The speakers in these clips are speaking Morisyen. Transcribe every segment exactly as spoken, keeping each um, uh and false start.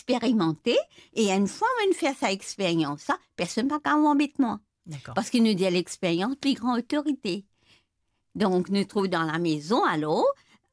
eksperimante, e enn fwa mo'nn fer sa eksperyans la, personn pa kav anbet mwa. Dakor. Parski nou dir lexperyans pli gran otorite. Donk, nou trouv dan lamezon, alor,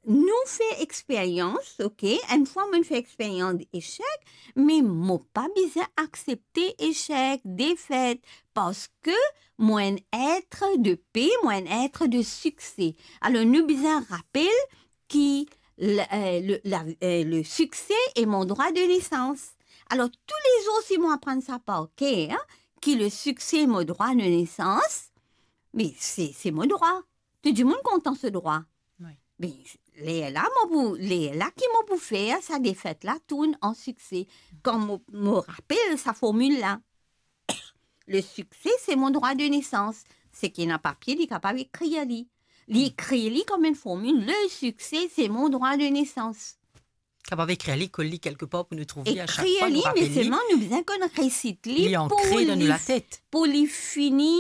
nou fer eksperyans, ok? Enn fwa mo'nn fer eksperyans esek, me mo pa bizin aksepte esek, defet, parski mo enn et de pe, mo enn et de sikse. Alor, nou bizin rapel ki le, eh, le, la, eh, le sikse est mon droit de naissance. Alor, toulezour, si mo aprann sa par ker, ki le sikse est mon droit de naissance, me se, se mo drwa. Tou dimoun kontan so drwa. Wi. Me lerla, mo pou, lerla ki mo pou fer sa defet la tourn an sikse. Kan mo, mo rapel sa formil la, le sikse, se mon drwa de nesans. Seki ena papie, li kapav ekrir li. Li ekrir li kom enn formil, le sikse, se mon drwa de nesans. Kapav ekrir li, kol li kelkepar pou nou trouv li a sak fwa, nou rapel li. Ekrir li, me selman nou bizin konn resit li pou li, pou li fini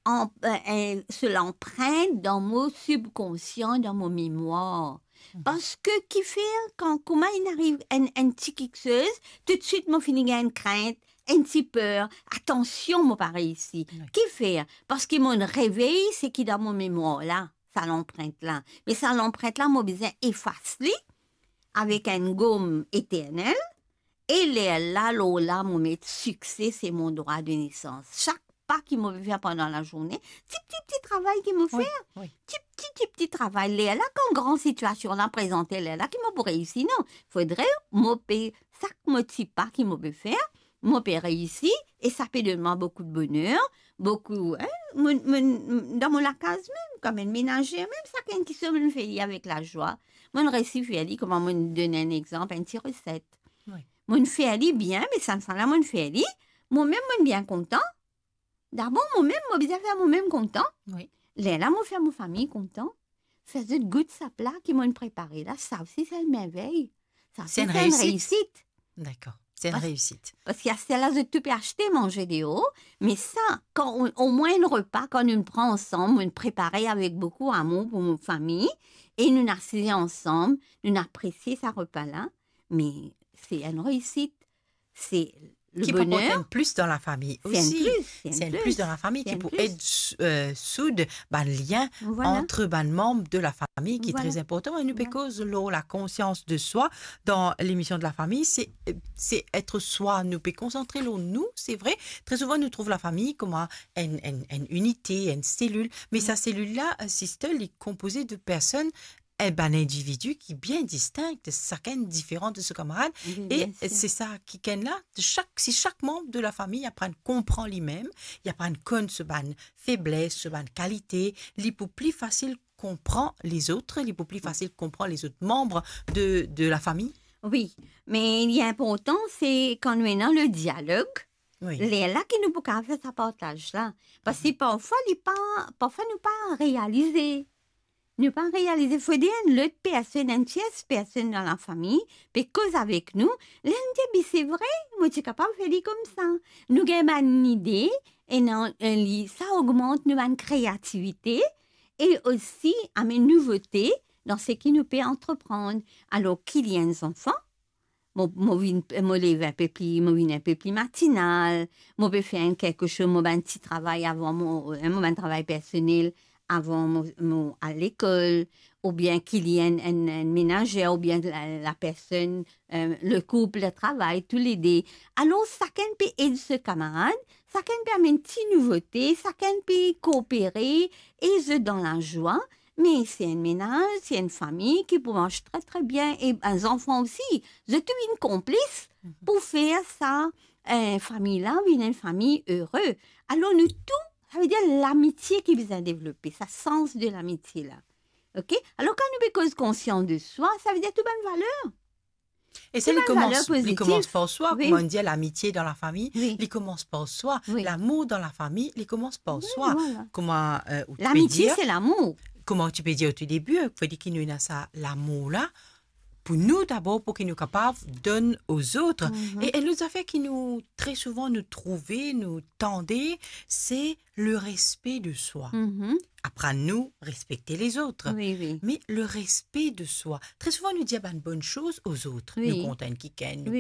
an, eh, eh, so lanprint dan mo sibkonsian, dan mo memwar. Mhm. Parski kifer kan, kouma inn ariv enn, enn ti kiksoz, toutswit mo fini gagn enn krint, enn ti per, atansion, mo pa reisi. Wi. Kifer? Parski mo'nn revey seki dan mo memwar la, sa lanprint la. Me sa lanprint la, mo bizin efas li avek enn gom eternel, e lerla, lor la, mo met sikse, se mon drwa de nesans. Sak pa ki mo pe fer pandan lazourne, ti, ti, ti travay ki mo fer, wi, ti, ti, ti, ti travay. Lerla, kan gran sitiasion la prezante, lerla ki mo pou reisi, non. Fodre mo pe, sak mo ti pa ki mo pe fer, mo pe reisi, e sa pe donn mwa boukou de boner, boukou, eh, mo, mo, dan mo lakaz mem, kom enn menazer mem, sakenn kiksoz mo'nn fer li avek lazwa. Mo'nn reisi fer li, kouma mo'nn donn enn exanp, enn ti reset. Wi. Mo'nn fer li bien, me sa, sa la mo'nn fer li, mo mem mo'nn bien kontan. Dabor, mo mem, mo bizin fer mo mem kontan. Wi. Lerla mo fer mo fami kontan. Fer zot gout sa pla ki mo'nn prepare la, sa osi se enn mervey. Sa osi se enn reisit. Dakor. Se enn reisit. Parski aster la, zot tou pe aste manze deor, me sa, kan, omwin enn repa, kan nou pran ansam, mo'nn prepare avek boukou amour pou mo fami, e nou asize ansam, nou apresie sa repa la, me se enn reisit. Se le boner. Ki pou aport enn plis dan lafami osi. Se enn plis, se enn plis dan lafami ki pou ed, eh, soud bann lien ant bann manm de lafami, ki tre inportan. E nou pe koz lor lakonsians de swa dan lemision de lafami. Se, se et swa, nou pe konsantre lor nou, se vre. Tre souvan, nou trouv lafami kouma enn, enn, enn inite, enn selil. Me sa selil la, eh, sister, li konpoze de personn, eh, bann individi ki bien distink, sakenn diferan de so kamarad. Wi, bien sir. E se sa kikenn la, de sak, si sak manm de lafami aprann konpran limem, li aprann konn so bann febles, so bann kalite, li pou pli fasil konpran lezot, li pou pli fasil konpran lezot manm de, de lafami. Wi, me li inportan, se kan nou ena le dialog, wi, lerla ki nou pou kapav fer sa partaz la. Parski parfwa, li pa, parfwa nou pa realize. Nou pa realize, fode enn lot personn, enn tiers personn dan lafami, pe koz avek nou, lerla nou dir, "Be se vre, mo ti kapav fer li koumsa." Nou gagn bann lide, e nan, e li, sa ogmant nou bann kreativite, e osi amenn nouvote dan seki nou pe antreprann. Alor, ki li enn zanfan, mo, mo vinn, mo lev inpe pli, mo vinn inpe pli matinal, mo pe fer enn kiksoz, mo bann ti travay avan mo, eh, mo bann travay personel avan mo, mo al lekol, oubien ki li enn, enn, enn menazer, oubien la, lapersonn, eh, le koup, le travay, toulede. Alor, sakenn pe ed so kamarad, sakenn pe amenn ti nouvote, sakenn pe koopere, e zot dan lazwa, Me si enn menaz, si enn fami ki pou mars tre, tre bien, e bann zanfan osi, zot tou vinn konplis pou fer sa, eh, fami la vinn enn fami ere. Alor nou tou, savedir lamitie ki bizin devlope, sa sans de lamitie la. Ok? Alor kan nou pe koz konsians de swa, savedir tou bann valer. E sa, li koumans, li koumans par swa, wi, kouma nou dir, lamitie dan lafami, wi, li koumans par swa. Wi. Lamour dan lafami, li koumans par swa. Wi, vwala. Kouma, eh, ou ti pe dir, lamitie, se lamour. Kouma ou ti pe dir o tou debi, fode ki nou ena sa lamour la, pou nou dabor, pou ki nou kapav donn ozot. Mhm. E, e lot zafer ki nou, tre souvan, nou trouve, nou tande, se le respe de swa. Mhm. Aprann nou respekte lezot. Wi, wi. Me le respe de swa. Tre souvan, nou dir bann bonn soz ozot. Wi. Nou kontan enn kikenn, nou